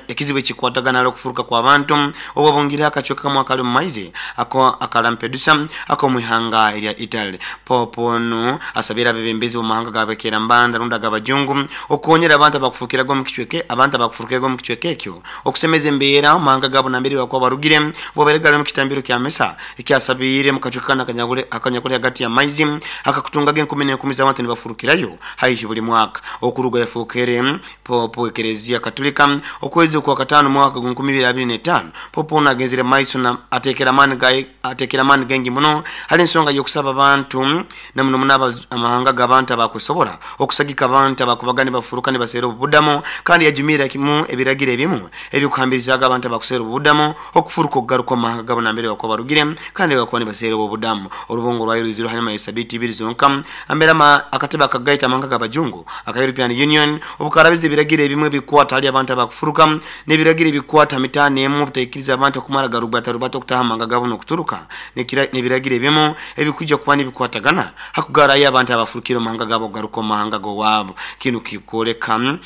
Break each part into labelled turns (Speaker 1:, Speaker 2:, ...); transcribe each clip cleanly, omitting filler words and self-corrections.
Speaker 1: ekikwatagana hali okufuruka kw'abantu obwabungire akacweka kamwe akali omu maizi ako aka Lampedusa ak'omu ihanga erya Italy. Pope onu asabire abebembezi b'omu mahanga g'abekerambanda rundi ag'abajungu okukonyera abantu abakufurukiraga omu kicweka abantu abakufurukiraga omu kicweka ekyo okusemeza embeera omu mahanga gaabo nambere bakuba barugire. Bwabaire gali omu kitambiro kya misa ekyasabiire mu kacweka kanu akanyakuli hagati y'amaizi akakutungaga enkumi n'enkumi z'abantu nibafurukirayo haihi buli mwaka okuruga yafookere Pope w'Ekereziya Katulika okwezi okwakataano mwaka gwa 2025. Pope onu agenzere maiso na ateekere amaani gaingi muno hali ensonga y'okusaba abantu na muno muno amahanga g'abantu abakwesobora okusagika abantu abakubaga nibafuruka nibaseera obubudamo, kandi yajumirra kimu ebiragiro ebimu ebikuhambirizaaga abantu abakuseera obubudamo okufuruka okugaruka omu mahanga gabo nambere bakuba barugire kandi bakuba nibaseera obubudamo. Orubungo rwayo rwizire hanyuma y'esabiiti ibiri zonka ambere akatebe akagaita amahanga g'abajungu aka European Union obukarabiza ebiragiro ebimu ebikukwata hali abantu abakufuruka n'ebiragiro ebikukwata ha mitaano emu obutaikiriza abantu okumara garubatarubata okutaha amahanga gabo n'okuturuka n'ebiragiro ebimu ebikuija kuba nibikwatagana hakugarayo abantu abafurukire omu mahanga gabo okugaruka omu mahanga g'owaabo. Kinu kikwoleka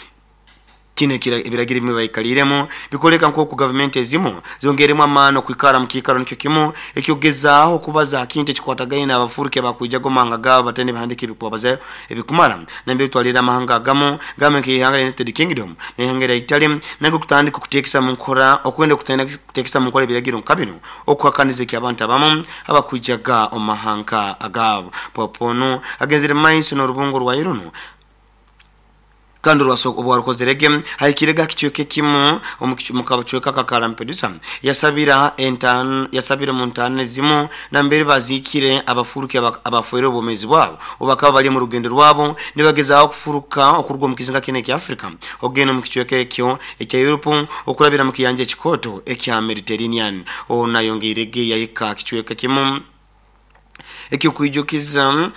Speaker 1: kinu ebiragiro ebimwe baikaliiremu bikwoleka nk'oku gavumenti ezimu zongeiremu amaani okwikara omu kiikaro nikyo kimu eky'okugezaaho okubaza ha kintu ekikwatagaine n'abafuruki abakwijaga omu mahanga gaabo bataine ebihandiiko ebikubabazayo ebikumara, nambere twalire amahanga agamu gamwe nk'ihanga lya United Kingdom n'ihanga erya Italy nago kutandika okuteekesa mu nkora okwenda okuteekesa mu nkora ebiragiro nka binu okuhakaniza eky'abantu abamu abakwijaga omu mahanga agaabo. Pope onu agenzere mu maiso n'orubungo rwayo runu kandi obwarukozerege ahikirege ha kicweka ekimu omu kacweka aka Lampedusa yasabira yasabira omu ntaana ezimu nambere baziikire abafuruki abafeerwe obwomeezi bwabo obu bakaba bali omu rugendo rwabo nibagezaaho okufuruka okuruga omu kizinga kinu ekya Africa okugenda omu kicweka ekyo ekya Europe okurabira mu kiyanja ekikooto ekya Mediterranean. Onu ayongeirege yahika ha kicweka kimu ekyokwijukiza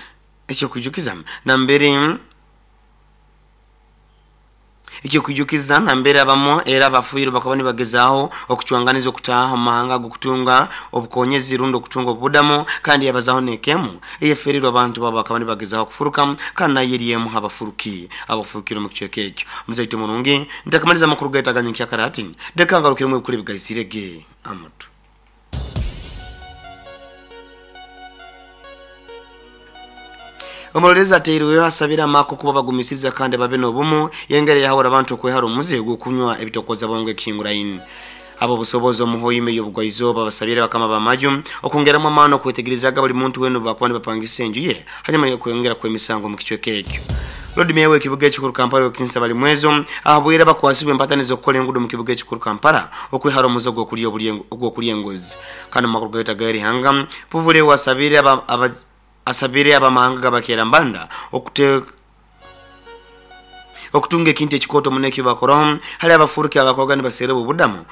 Speaker 1: nambere abamu era abafiire bakaba nibagezaaho okucwanganiza okutaaha omu mahanga ag'okutunga obukonyezi rundi okutunga obubudamo, kandi yabazaho n'ekemu eyeferirwe abantu babo bakaba nibagezaaho okufuruka kandi nayo eri emu abafuruki abafurukire omu kicweka ekyo. Muzaito murungi, ntakamaliza amakuru gaitu aganyenkya kare hati leka ngarukiremu ebikuru ebigaisirege amatu. Omurorezi ateirweho asabire amaka okuba bagumisiriza kandi babe n'obumu yengere yahawura abantu okwehara omuze gw'okunywa ebitokoza bongo ekihinguraine. Ab'obusobozi omu Hoima ey'obugwaizooba basabire bakama b'amaju okwongeramu amaani okwetegerezaga buli muntu weena obu bakuba nibapangisa enju ye hanyuma y'okweyongera kw'emisango omu kicweka ekyo. Lord Mayor w'ekibuga ekikuru Kampala Owekitinisa Balimwezo ahabwire abakwasibwe empataniza okukora engudo omu kibuga ekikuru Kampala okwehara omuze ogw'okulya enguzi. Kandi omu makuru gaitu ag'erihanga, Pubulewo asabire abamahanga g'abakerambanda okutunga ekintu ekikooto muno eki bakoraho hali abafuruki abakoga nibaseera obubudamu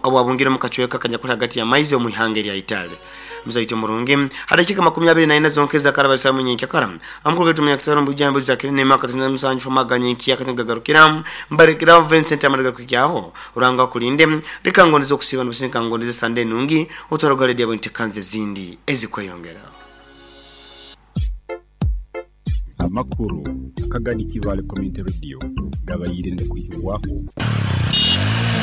Speaker 1: obwabungire omu kacweka akanyakuli hagati y'amaizi omu ihanga erya Italy. Muzaito murungi, ha dakika 24 zonka ezakaraba saa munyenkya amakuru gaitu munyakitaro mbujambo zakire nemaka 97 famaganya enkiya kati gagarukira mbarekeraho Vincent amaraga kukyaho uranga kulinde leka ngondeze okusiba nubusinka ngondeze sande nungi otwara radio entekanze zindi ezikweyongera.
Speaker 2: Amakuru akagani Kibaale Community Radio gabaire nigakwihibwaho.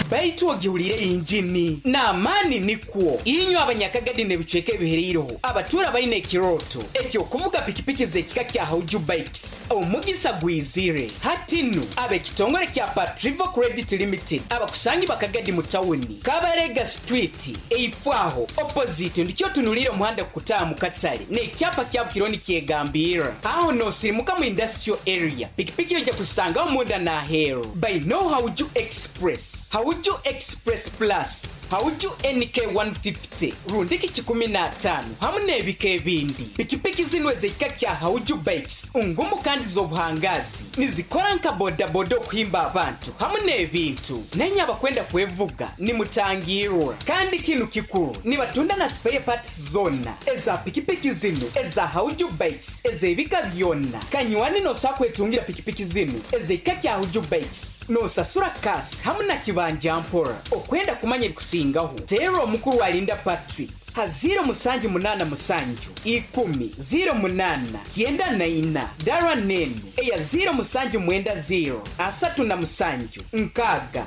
Speaker 3: Baitu ogihulire injini n'amaani nikwo. Inywe Abanyakagadi n'ebicweka ebihereireho abatuura baine ekirooto eky'okuvuga pikipiki z'ekika kya Hauju Bikes, omugisa gwizire. Hati nu ab'ekitongole kya Patrivo Credit Limited abakusangibwa Kagadi mu tawuni, Kabarega Street, eifo aho opposite ndikyo otunuliire omuhanda kukutaaha mu katale n'ekyapa kya Bukironi nikyegambirra. Aho n'osirimuka mu industrial area, pikipiki oija kuzisangaho munda n'aheeru. Bainoho Hauju Express, Hauju Express Plus, Hauju NK 150, rundiki 105 hamu n'ebika ebindi. Pikipiki zinu ez'ekika kya Hauju Bikes ngumu kandi z'obuhangazi, nizikora nka bodaboda okuhimba abantu hamu n'ebintu. Nainye abakwenda kwevuga nimutangirwa. Kandi kinu kikuru, nibatunda na spare parts zoona eza pikipiki zinu eza Hauju Bikes ez'ebika byona. Kanywani n'osobola kwetungira pikipiki zinu ez'ekika kya Hauju Bikes n'osasura cash hamu na kibanja mpora. Okwenda kumanya ebikusingaho, teera omukuru Alinda Patrick ha 0787 10 08 94 dara nenu eya 0790 37 60 2.